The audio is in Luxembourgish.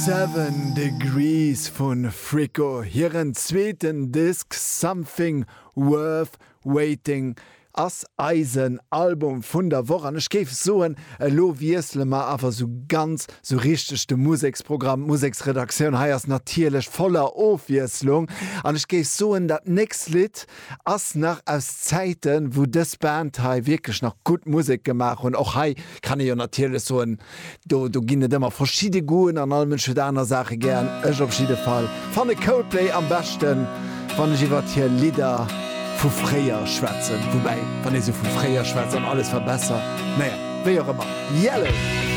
Seven Degrees vu Fricko, hiren zweeten Disk Something Worth Waiting ass eisen Album vun der Woch an ech géif soen, elo wiessele mer awer sou ganz sou richteg de Museksprogramm. D'Museksredaktioun hei ass natierlech voller Ofwiesslung an ech géif soen, dat nächst Lidd ass nach aus Zäiten, wou dës Band hei wierklech nach gutt Musek gemaach hunn. Och hei kann ee jo natierlech soen, do do ginn et ëmmer verschidde Goûten an all Mënsch huet aner Saache gären. Ech op jidde Fall fanne Coldplay am beschten, wann ech iwwert hir Lidder vu fréier schwätzen. Woubäi, wann ee sou vu fréier schwätzt an alles war besser, naja, wéi och ëmmer. Yellow!